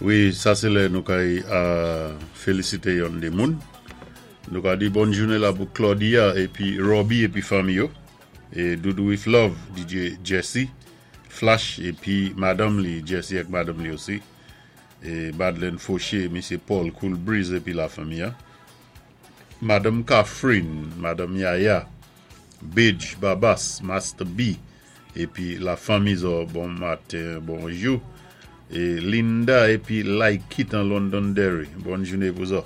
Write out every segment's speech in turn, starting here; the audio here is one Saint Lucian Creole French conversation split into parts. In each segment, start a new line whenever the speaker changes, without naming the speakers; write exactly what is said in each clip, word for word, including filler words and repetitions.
Wi, sa sé lè nou kay félisité yon dé moun. Nou ka di bòn jounen la pou Claudia épi Robbie épi fanmi yo. É Doudou with Love, D J Jesse, Flash épi madanm li, Jesse ak madanm li osi. É Madeleine Fauché, Misyé Paul Cool Breeze épi la fanmi. Madame Catherine, Madame Yaya, Bidge, Babas, Master B, épi la fanmi zo, bon maten, bonjou. É Linda épi Laikit an Londonderry, bòn jounen pou zo.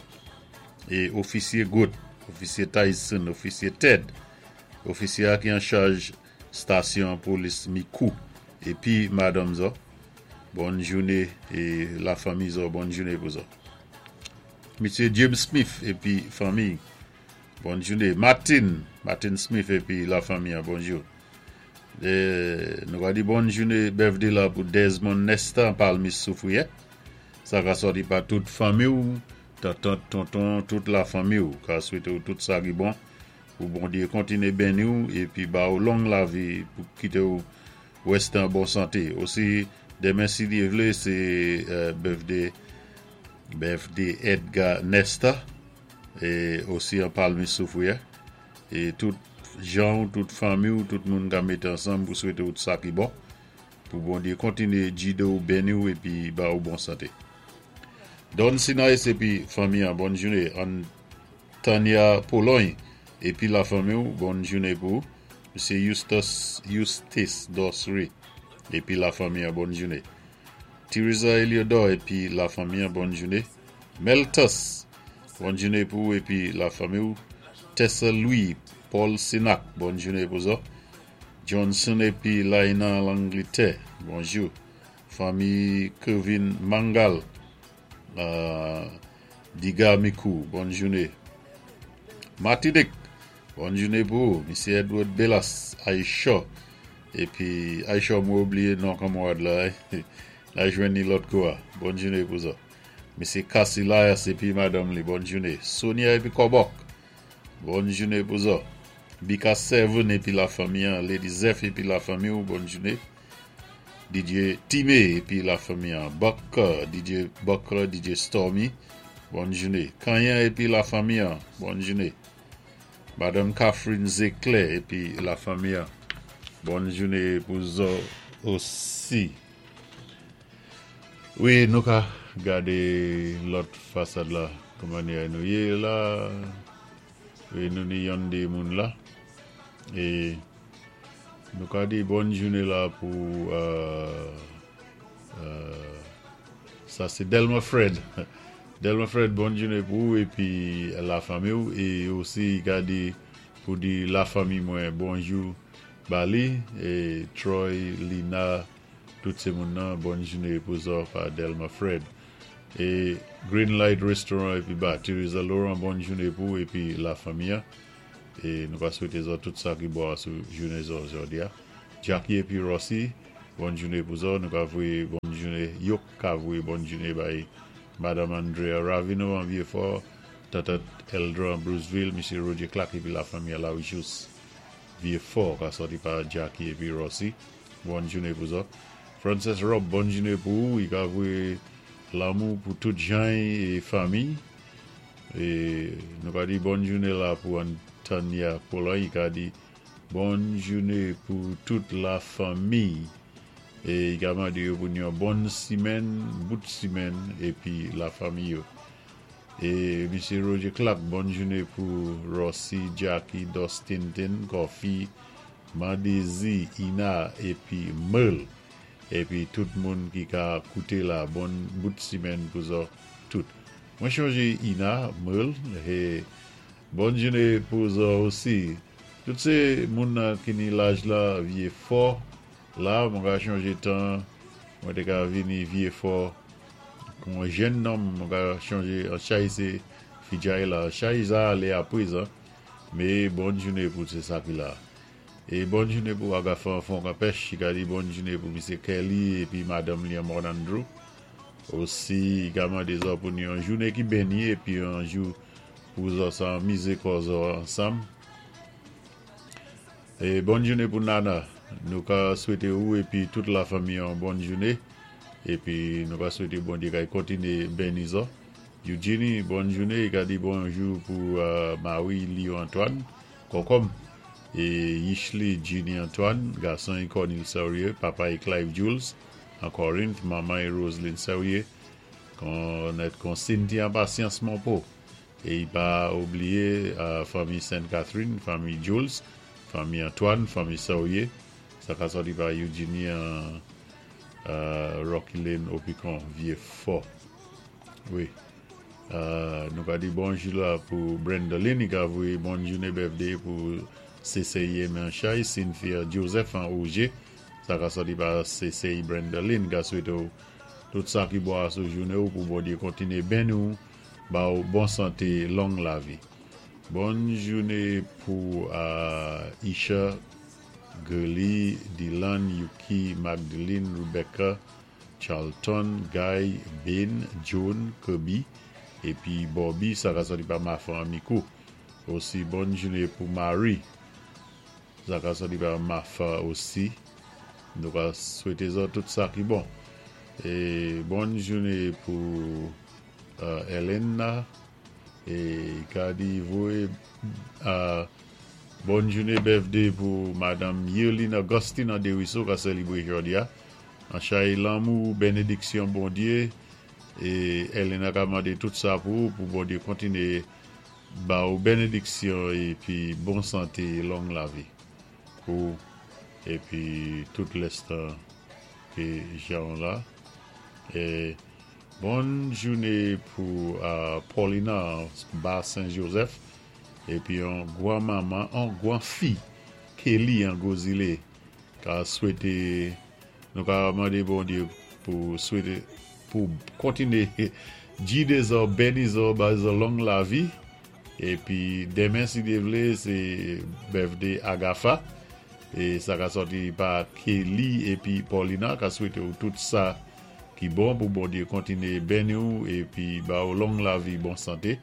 É ofisyé Gout, ofisyé Tyson, ofisyé Ted, ofisyé ki an chaj stasyon polis Micoud, épi madanm zo, bòn jounen é la fanmi zo, bòn jounen pou zo. Misyé James Smith épi fanmi, bòn jounen. Martin, Martin Smith épi la fanmi, bonjou. É, nou va di bòn jounen birthday la pou Desmond Nesta Palmis Soufrière. Sa ka sòti pa tout fanmi ou, tantant, tonton, tout la fanmi ou, ka swété ou tout sa ki bon, pou Bondyé kontiné béni ou, épi ba ou long lavi pou kité ou wèsté an bon santé. Osi, denmen si Dyé vlé, sé euh, birthday, birthday Edgar Nesta, é osi an Palmis Soufrière. É tout jan, tout fanmi ou, tout moun ka mété ansanm pou swété ou tout sa ki bon, pou Bondyé kontiné gidé ou, béni ou, épi ba ou bon santé. Don Sinai épi fanmi an, bòn jounen. An Tania Pologne épi la fanmi ou, bòn jounen pou Misyé Eustace Eustace Dosry épi la fanmi an, bòn jounen. Teresa Eliodor épi la fanmi an, bòn jounen. Meltus, bòn jounen pou épi la fanmi ou. Tessa Louis, Paul Sinac, bòn jounen pou zo. Johnson épi Laina l'Angleterre, bonjou. Fanmi Kevin Mangal, euh, Diga Mikou, bòn jounen. Martinique, bòn jounen pou Misyé Edward Bellas, Aisha, épi Aisha, mwen oubliyé non kanmarad la, la jwenn ni lòt kou. Bòn jounen pou sa. Misyé Cassilayas épi madanm li, bòn jounen. Sonia épi Kobok, bòn jounen pou sa. Bika Seven épi la fanmi, Lady Zeph épi la fanmi, bòn jounen. D J Time épi la fanmi, Buck, D J Buck, D J Stormy, bòn jounen. Kanyan épi la fanmi, bòn jounen. Madame Catherine Zecler épi la fanmi, bòn jounen pou zo osi. Wi, nou ka gadé lòt fasad la, kòman nou yé la. Wi, nou ni yon dé moun la. É nou ka di bòn jounen la pou euh, euh, sa sé Delma Fred. Delma Fred, bòn jounen pou ou épi la fanmi ou. É osi gadé pou di la fanmi mwen bonjou Bali é Troy, Lina, tout sé moun nan, bòn jounen pou zo pa Delma Fred. É Green Light Restaurant épi ba Teresa Laurent, bòn jounen pou épi la fanmi. É nou va swété zo tout sa ki bon sou jounen zo jòdi a. Jackie épi Rossi, bòn jounen pou zo, nou ka voyé bòn jounen, yo ka voyé bòn jounen bay Madame Andrea Ravino an Vieux-Fort, Tata Eldra an Bruceville, Misyé Roger Clark épi la fanmi la Richus Vieux-Fort, ka sòti pa Jackie épi Rossi. Bòn jounen pou zo. Frances Rob, bòn jounen pou ou, i ka voyé lanmou pou tout jan é fanmi. É nou ka di bòn jounen la pou Antonia Paula, i ka di bòn jounen pou tout la fanmi. É i ka mandé yo pou yon bòn simèn, bout simèn, épi la fanmi yo. É Misyé Roger Clark, bòn jounen pou Rossi, Jackie, Dustin, Tin, Coffee, Mandezi, Ina, épi Merle. Épi tout moun ki ka kouté la, bon bout simèn pou zo tout. Mwen chonjé Ina, Merle, é bòn jounen pou zo osi. Tout sé moun nan ki ni laj la Vieux-Fort, la, mwen ka chonjé tan, mwen té ka vini Vieux-Fort, kon jèn nonm, mwen ka chonjé, an chay sé fidjay la, chay za alé aprezan, mé bòn jounen pou sé sa ki la. É bòn jounen pou Agafan Fonkampèche, ki ka di bòn jounen pou Misyé Kelly épi Madame Liam Andrew. Osi, i ka mandé zo pou yon jounen ki béni épi yon jou pou zo sa mizé kò zo ansanm. É bòn jounen pou Nana. Nou ka swété ou épi tout la fanmi yon bòn jounen. Épi nou ka swété Bondyé kay kontiné béni zòt. Eugenie, bòn jouné, i ka di bonjou pou euh, Marie Leo Antoine, Kokom, é Yishli Ginny Antoine, gason Cornel Serrier, papa é Clive Jules, an Corinth, manman é Roselyne Serrier, kon kon Cynthia Patience Monpo. É i pa oubliyé euh, fanmi Sainte Catherine, fanmi Jules, fanmi Antoine, fanmi Serrier, sa ka sòti pa Eugenie an euh, Rocky Lane, Opicon, Vieux-Fort. Wi. Euh, nou ka di bonjou la pou Brenda Lynn, i ka voyé bòn jouné birthday pou C C I Manchay, Cynthia Joseph an O G. Sa ka sòti pa C C I Brenda Lynn, ka swété tout sa ki bon sou jouné ou pou Bondyé kontiné béni ou, ba ou bon santé, long lavi. Bòn jouné pou euh, Isha, Gurley, Dylan, Yuki, Magdalene, Rebecca, Charlton, Guy, Ben, Joan, Kirby, épi Bobby, sa ka sòti pa Mafa Amikou. Osi bòn jouné pou Marie. Sa ka sòti pa Mafa osi. Nou ka swété zòt tout sa ki bon. É bòn jouné pou euh, Elena é ka di voyé euh, bòn jouné birthday pou Madanm Yerline Augustine an Desruisseaux ka sélébré jòdi a. An chay lanmou, bénédiksyon Bondyé é Elena ka mandé tout sa pou pou Bondyé kontiné ba ou bénédiksyon épi bon santé, long lavi pou épi tout lenstan ké jan la. É bòn jouné pou euh, Paulina Bas Saint-Joseph épi yon gwan manman, yon gwan fi Kelly an Gozile ka swété nou ka mandé Bondyé pou swété pou kontiné gidé zòt, béni zòt, ba zòt long lavi. Épi denmen si Dyé vlé sé birthday Agafa é sa ka sòti pa Kelly épi Paulina ka swété ou tout sa ki bon pou Bondyé kontiné béni ou épi ba ou long lavi, bon santé.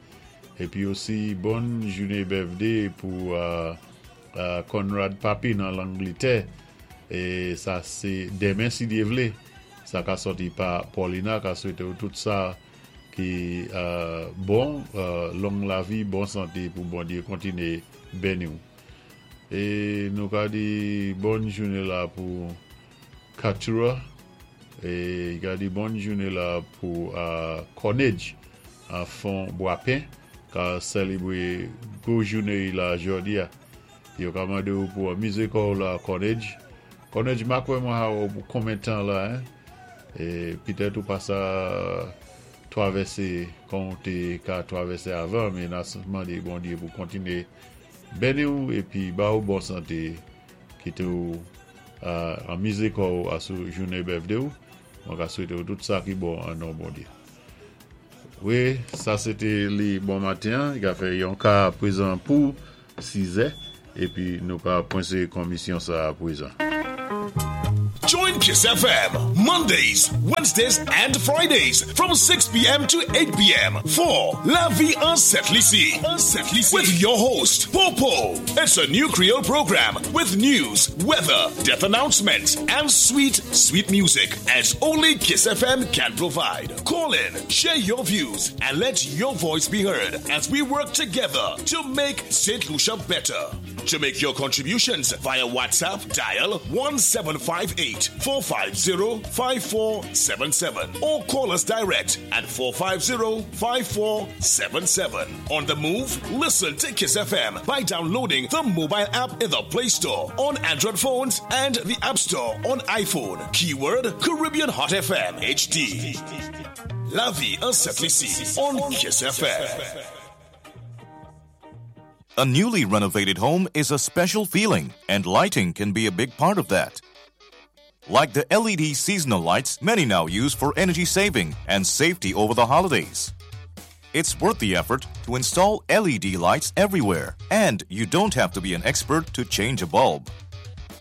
Épi osi bòn jouné birthday pou euh, euh, Conrad Papi nan Langlétè é sa sé denmen si Dyé vlé. Sa ka sòti pa Paulina ka swété ou tout sa ki euh, bon, euh, long lavi, bon santé pou Bondyé kontiné béni ou. É nou ka di bòn jouné la pou Katura é ka di bòn jouné la pou euh, Cornage an Fond Boapin ka sélébré gwo jouné la jòdi a. Yo ka mandé ou pou anmizé kò'w la Cornage. Cornage ma kwè mwen ha ou pou konbyen tan la hein? É pitèt ou pa sa twavèsé kon té ka twavèsé avan, men na mandé Bondyé pou kontiné béni ou épi ba ou bon santé kité ou euh, anmizé kò'w asou jouné birthday ou. Mwen ka swété ou tout sa ki bon an non Bondyé. Wi, sa sé té li bon maten, i ka fè yon ka pwézan pou sis è épi nou ka pwensé komisyon sa pwézan.
Join Kiss F M Mondays, Wednesdays, and Fridays from six p m to eight p m for La Vie en Sent Lisi with your host, Popo. It's a new Creole program with news, weather, death announcements, and sweet, sweet music as only Kiss F M can provide. Call in, share your views, and let your voice be heard as we work together to make Saint Lucia better. To make your contributions via WhatsApp, dial one seven five eight four five zero five four seven seven or call us direct at four five zero five four seven seven. On the move, listen to Kiss F M by downloading the mobile app in the Play Store on Android phones and the App Store on iPhone. Keyword Caribbean Hot F M H D. La Vie en Sent Lisi on Kiss F M.
A newly renovated home is a special feeling, and lighting can be a big part of that. Like the L E D seasonal lights many now use for energy saving and safety over the holidays. It's worth the effort to install L E D lights everywhere, and you don't have to be an expert to change a bulb.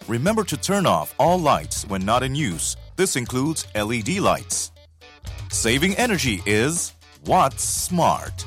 Remember to turn off all lights when not in use. This includes L E D lights. Saving energy is What's Smart.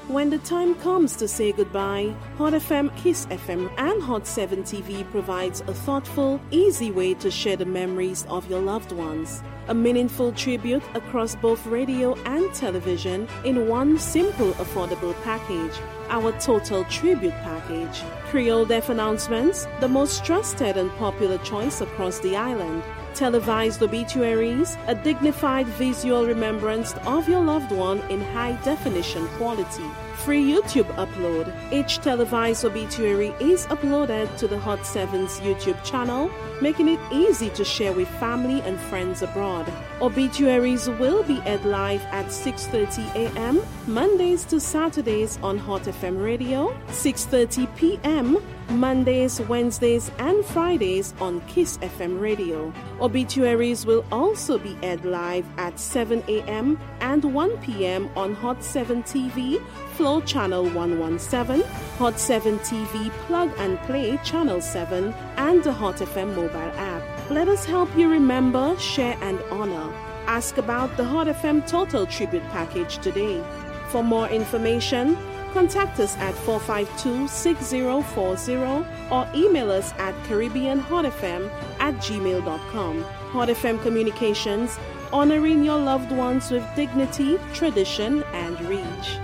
When the time comes to say goodbye, Hot F M, Kiss F M, and Hot seven T V provides a thoughtful, easy way to share the memories of your loved ones. A meaningful tribute across both radio and television in one simple, affordable package. Our Total Tribute Package. Creole Death announcements, the most trusted and popular choice across the island. Televised obituaries, a dignified visual remembrance of your loved one in high definition quality. Free YouTube upload. Each televised obituary is uploaded to the Hot seven's YouTube channel, making it easy to share with family and friends abroad. Obituaries will be aired live at six thirty a m. Mondays to Saturdays on Hot F M Radio, six thirty p m. Mondays, Wednesdays, and Fridays on Kiss F M Radio. Obituaries will also be aired live at seven a m and one p m on Hot seven T V, Flow Channel one one seven, Hot seven T V Plug and Play Channel seven, and the Hot F M mobile app. Let us help you remember, share, and honor. Ask about the Hot F M Total Tribute Package today. For more information, contact us at four five two, six zero four zero or email us at caribbeanhotfm at gmail dot com. Hot F M Communications, honoring your loved ones with dignity, tradition, and reach.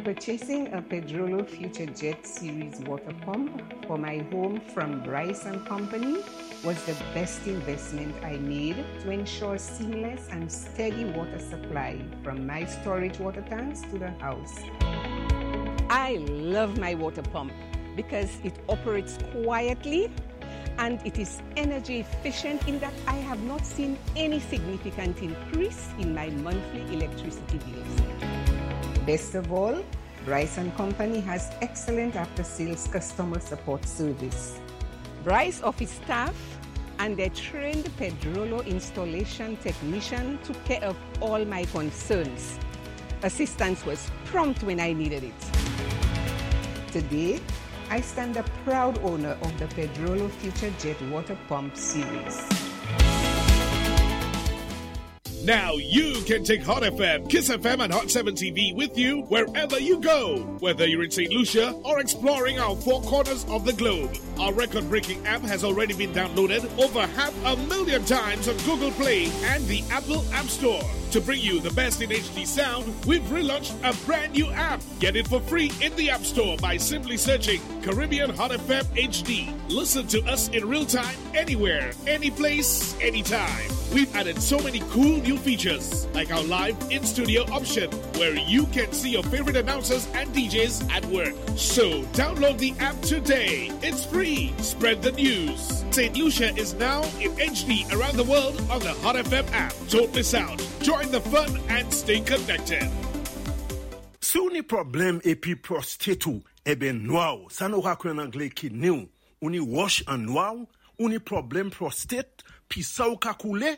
Purchasing a Pedrollo Future Jet Series water pump for my home from Bryce and Company was the best investment I made to ensure seamless and steady water supply from my storage water tanks to the house. I love my water pump because it operates quietly and it is energy efficient in that I have not seen any significant increase in my monthly electricity bills. Best of all, Bryce and Company has excellent after-sales customer support service. Bryce office staff and their trained Pedrollo installation technician took care of all my concerns. Assistance was prompt when I needed it. Today, I stand a proud owner of the Pedrollo Future Jet Water Pump Series.
Now you can take Hot F M, Kiss F M, and Hot seven T V with you wherever you go. Whether you're in Saint Lucia or exploring our four corners of the globe. Our record breaking app has already been downloaded over half a million times on Google Play and the Apple App Store. To bring you the best in H D sound, we've relaunched a brand new app. Get it for free in the App Store by simply searching Caribbean Hot F M H D. Listen to us in real time, anywhere, any place, anytime. We've added so many cool new features, like our live in studio option, where you can see your favorite announcers and D Js at work. So download the app today. It's free. Spread the news. Saint Lucia is now in H D around the world on the Hot F M app. Don't miss out. Join the fun and stay connected.
Si ou ni pwoblèm épi prostate ou, ében nwa, sa nou ka kwé an anglé kidney ou, ou ni wòch an nwa, ou ni pwoblèm prostate, pi sa ou ka koulé,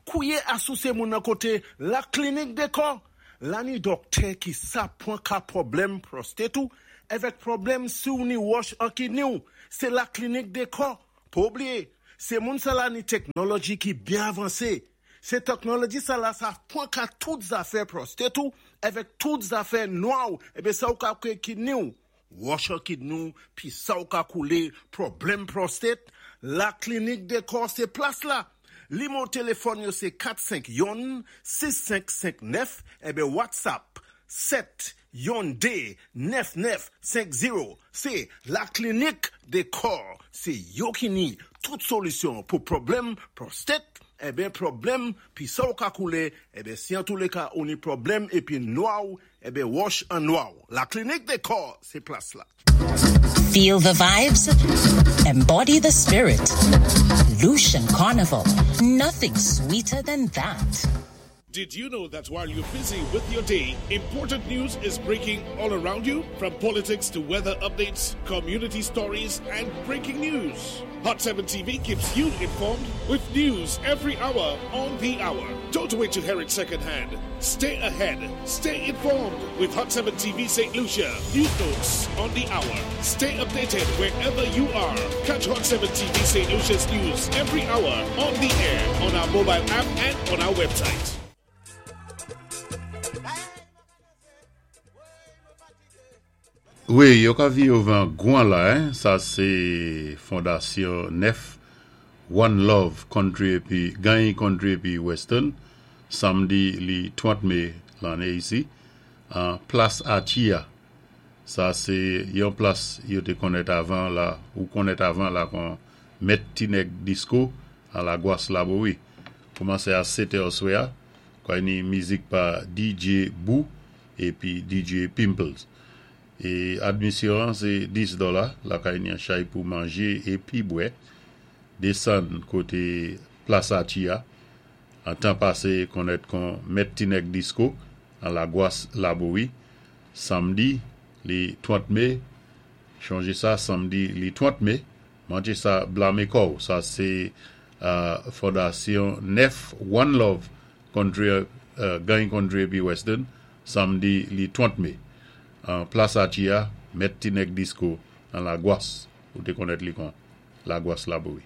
kouwé asou sé moun nan koté La Clinique Décor. La ni dòktè ki sa pwan ka pwoblèm prostate ou, avèk pwoblèm si ou ni wòch an kidney ou, sé La Clinique Décor. Pa oubliyé, sé moun sa la ni teknoloji ki byen avansé. Sé teknoloji sa la sa pwan ka tout zafè prostate ou, avèk tout zafè nwa ou, ébé sa ou ka kwé kidney ou. Wòch an kidney ou, pi sa ou ka koulé, pwoblèm prostate, La Clinique Décor sé plas la. Nimewo téléfòn yo sé kat senk youn sis senk senk nèf ébé WhatsApp sèt youn dé nèf nèf senk zewo. Sé La Clinique Décor. Sé yo ki ni tout solisyon pou pwoblèm prostate, ébé pwoblèm pi sa ou ka koulé, ébé si an tou lé ka ou ni pwoblèm épi nwa ou, ébé wòch an nwa ou. La Clinique Décor, sé plas la.
Feel the vibes? Embody the spirit. Lucian Carnival. Nothing sweeter than that.
Did you know that while you're busy with your day, important news is breaking all around you? From politics to weather updates, community stories, and breaking news. Hot seven T V keeps you informed with news every hour on the hour. Don't wait to hear it secondhand. Stay ahead. Stay informed with Hot seven T V Saint Lucia. News notes on the hour. Stay updated wherever you are. Catch Hot seven T V Saint Lucia's news every hour on the air, on our mobile app, and on our website.
Wi, yo ka viwé van gwan la, hein? Sa sé Fondasyon Nèf One Love Country épi Gany Country épi Western samdi li trant mé lanné isi an Plas Atia. Sa sé yon plas yo té konnèt avan la ou konnèt avan la kon Mèt Ti Nèg Disco an Lagwas Labowi. Koumansé a sèt è swè kwa ni mizik pa D J Bou épi D J Pimples. É admisyon sé dis dola, la kay ni an chay pou manjé épi bwè. Désann koté Plas Atia, an tan pasé konnèt kon Mèt Ti Nèg Disco an Lagwas Labowi, samdi li trant mé, chonjé sa, samdi li trant mé, manjé sa blamé kò'w. Sa sé euh, Fondasyon Nèf One Love Country, euh, Gany Country épi Western, samdi li trant mé. An Plas Atia, Mèt Ti Nèg Disco an Lagwas, ou té konnèt li kon Lagwas Labowi.